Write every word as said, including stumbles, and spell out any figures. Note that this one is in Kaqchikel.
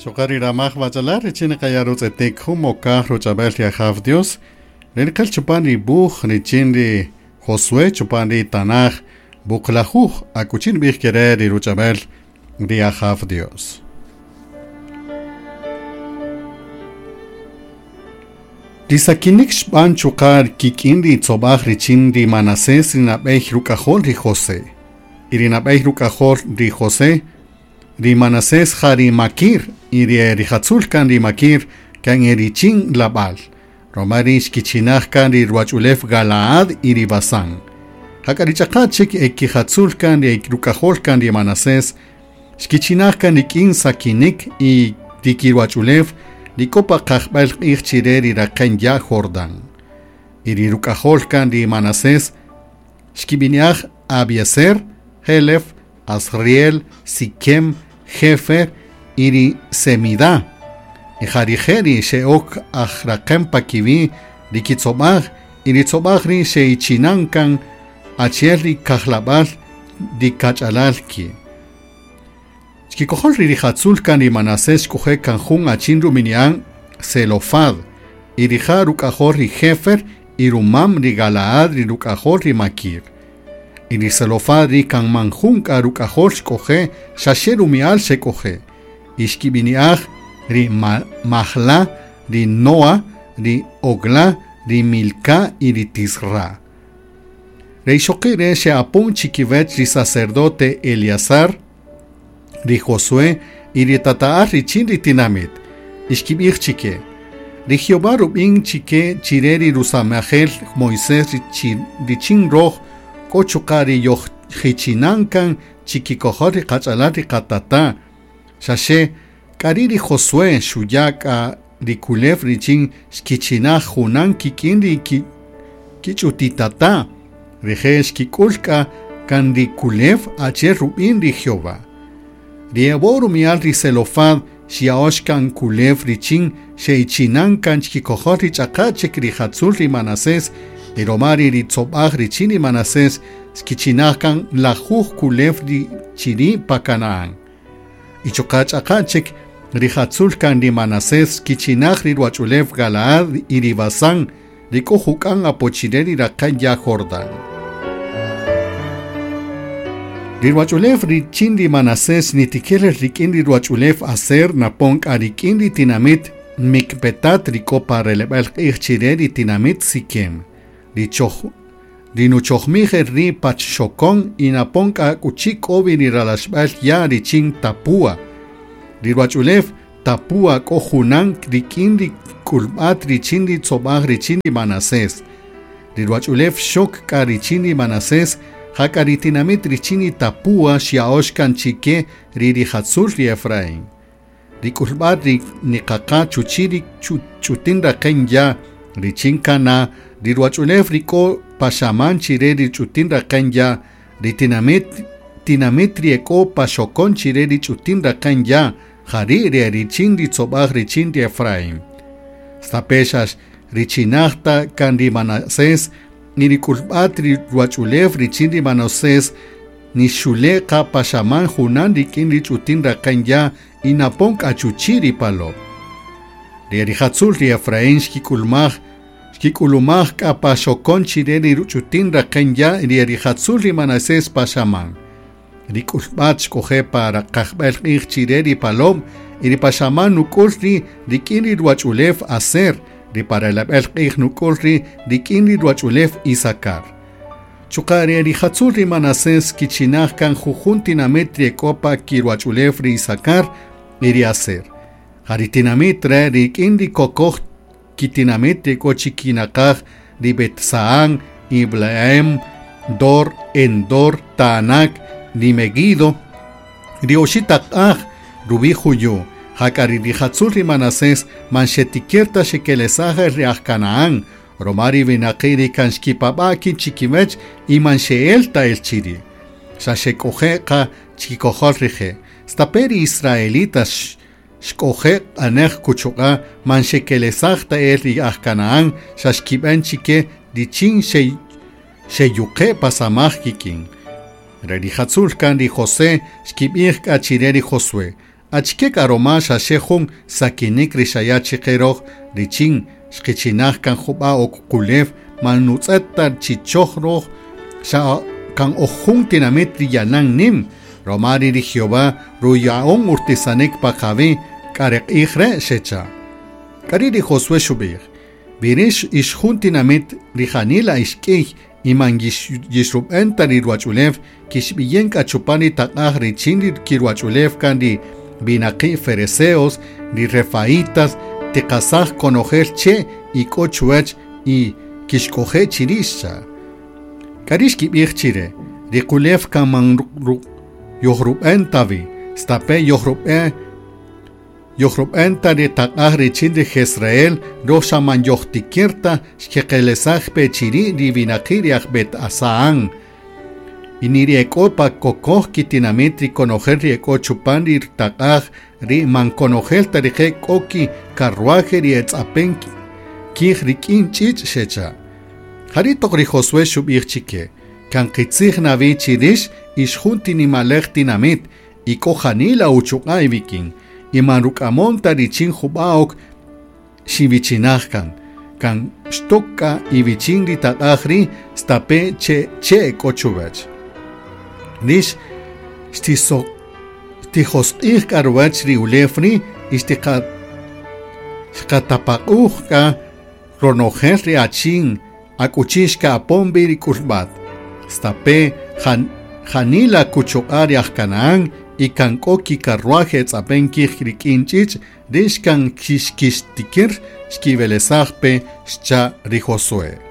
Chuqa' ri ramaj wachalar richin niqaya' rutz'etik jun mokaj ruch'ab'el ri Ajaw Dios, ri niqel chupan ri wuj richin ri Josué chupan ri Tanaj wuqlajuj akuchi nb'ij kere ri ruch'ab'el ri Ajaw Dios. Ri sakinik xb'an chuqa' kik'in ri tzob'aj richin ri Manasés ri nab'ey ruk'ajol ri José. Y ri nab'ey ruk'ajol ri José, ri Manasés ja ri Maquir, y ri rijatzul kan ri Maquir kan erichin Labal. Roma ri xkichinaj kan ri ruwach'ulew Galaad y ri Basán. Jak'a ri ch'aqa chik ekijatzul kan ri ruk'ajol kan ri Manasés, xkichinaj kan rik'in sakinik y ri kiruwach'ulew ri k'o pa qajb'al q'ij chire ri raqen ya' Jordán. Y ri ruk'ajol kan ri Manasés xkib'ini'aj Abiezer, Helef, Asriel, Siquem, Jefer y ri Semidá. Y ja rije' ri xe'ok aj raqen pa kiwi' ri kitzob'aj, y ri tzob'aj ri xe'ichinan kan achi'el ri kajlab'al ri kach'alal ki'. Xkikojol ri rijatzul kan ri Manasés xk'oje' kan jun achin rub'ini'an Zelofad, y rija' ruk'ajol ri Jefer y rumam ri Galaad ri ruk'ajol ri Maquir. Y ri Zelofad ri kan man jun k'a ruk'ajol xk'oje' xaxe rumi'al xek'oje'. Y xkib'ini'aj ri Mahla, ri Noa, ri Ogla, ri Milca y ri Tisra. Ri ixoqi' re' xe'apon chikiwech ri sacerdote Eleazar, ri Josué y ri tata'al richin ri tinamit. Y xkib'ij chike: Ri Jehová rub'in chike chire ri rusamajel Moisés richin roj k'o chuqa' ri yojjichinan kan chikikojol ri qach'alal ri qatata'. Xaxe k'ari' ri Josué xuya' k'a ri kulew richin xkichinaj junan kik'in ri kich'utitata'. Rije' xkik'ul k'a kan ri kulew achi'el rub'in ri Jehová. Ri ebo' rumi'al ri Zelofad xya'ox kan kulew richin xe'ichinan kan chikikojol ri ch'aqa chik rijatzul ri Manasés, y roma ri tzob'aj richin ri Manasés xkichinaj kan lajuj kulew ri chiri' pa Canaán. Y chuqa' ch'aqa chik rijatzul kan ri Manasés xkichinaj ri ruwach'ulew Galaad y ri Basán, ri k'o juk'an apo chire ri raqen ya' Jordán. Ri ruwach'ulew richin ri Manasés nitiker rik'in ri ruwach'ulew Aser napon k'a rik'in ri tinamit Micpetat ri k'o pa releb'al q'ij chire ri tinamit Siquem. Ri choj ri nuchojmij ri pachxokon y napon k'a k'uchi k'o wi ri ralaxb'al ya' richin Tapúa. Ri ruwach'ulew Tapúa k'o junan rik'in ri k'ulb'at richin ri tzob'aj richin ri Manasés. Ri ruwach'ulew xok k'a richin ri Manasés, jak'a ri tinamit richin ri Tapúa xya'ox kan chike ri rijatzul ri Efraín. Ri k'ulb'at ri niqaqa chuchi' ri ch'utin raqen ya' richin Cana, ri ruwach'ulew ri k'o paxaman chire ri ch'utin raqen ya', ri tinamit tinamit ri ek'o paxokon chire ri ch'utin raqen ya', jari' ri richin ri tzob'aj richin ri Efraín. Stape' xax richinaj ta kan ri Manasés, ni ri k'ulb'at ri ruwach'ulew richin ri Manasés nixule' qa paxaman junan rik'in ri ch'utin raqen ya' y napon k'a chuchi' ri palow. Ri rijatzul ri Efraín xkik'ulumaj xkik'ulumaj k'a paxokon chire ri ch'utin raqen ya' ri rijatzul ri Manasés paxaman. Ri k'ulb'at xk'oje' pa qajb'al q'ij chire ri palow y ri paxaman nuk'ul ri rik'in ri ruwach'ulew Aser, ri parelab'al q'ij nuk'ul ri rik'in ri ruwach'ulew Isakar. Chuqa' ri rijatzul ri Manasés kichinaj kan jujun tinamit ri ek'o pa kiruwach'ulew ri Isakar y ri Aser. Ja ri tinamit re' rik'in ri kokoj kitinamit ri k'o chikinaqaj ri Betsaan, Ibleam, Dor, Endor, Taanac, ri Meguido, ri oxi' taq'aj rub'i' juyu'. Jak'a ri rijatzul ri Manasés man xetikir ta xekelesaj el ri aj Canaán, roma ri winaqi' ri kan xkipab'a' ki' chikiwech y man xe'el ta el chiri'. Xa xek'oje' qa chikikojol rije'. Stape' ri israelitas xk'oje' q'anej kuchuq'a' man xekelesaj ta el ri aj Canaán, xa xkib'an chike richin xeyuqe' pasamaj kik'in. Ri rijatzul kan ri José xkib'ij k'a chire ri Josué: Achike k'a roma xaxe jun sakinik ri xaya' chiqe roj richin xqichinaj kan jub'a' ok qulew man nutz'et ta chi choj roj xa kan oj jun tinamit ri yalan nim roma ri ri Jehová ruya'on urtisanik pa qawi' k'a ri q'ij re' xecha'. K'ari' ri Josué xub'ij: Wi rix ix jun tinamit ri janila ix k'iy y man yixrub'en ta ri ruwach'ulew kixb'iyen k'a chupan ri taq'aj richin ri kiruwach'ulew kan ri winaqi' fereceos, ri refaitas, tiqasaj konojel che' y k'o chuwach y kixk'oje' chiri' xcha'. K'ari' xkib'ij chire, ri qulew kan man yojrub'en ta wi, stape' yojrub'en yojrub'en ta ri taq'aj richin ri Jezreel, roj xa man yojtikir ta xkeqelesaj pe chiri' ri winaqi' ri aj Bet Asaan. Y ni ri ek'o pa kokoj kitinamit ri konojel ri ek'o chupan ri taq'aj ri man konojel ta rije' k'o ki carruaje ri etz'apen kij rik'in ch'ich' xecha'. Jari' toq ri Josué xub'ij chike, kan qitzij na wi chi rix ix jun tinimalej tinamit y k'o janila uchuq'a' iwik'in y man ruk'amon ta richin jub'a' ok xiwichinaj kan, kan xtok k'a iwichin ri taq'aj ri' stape' che che' k'o chuwach. Rix xtijosq'ij k'a ruwach ri ulew ri' y xqatapaq'uj k'a ronojel ri achin akuchi xka'apon wi ri k'ulb'at. Stape' janila kuchuq'a' ri aj Canaán y kan k'o kicarruaje etz'apen kij rik'in ch'ich' rix kan kixtikir xkiwelesaj pe xcha' ri Josué.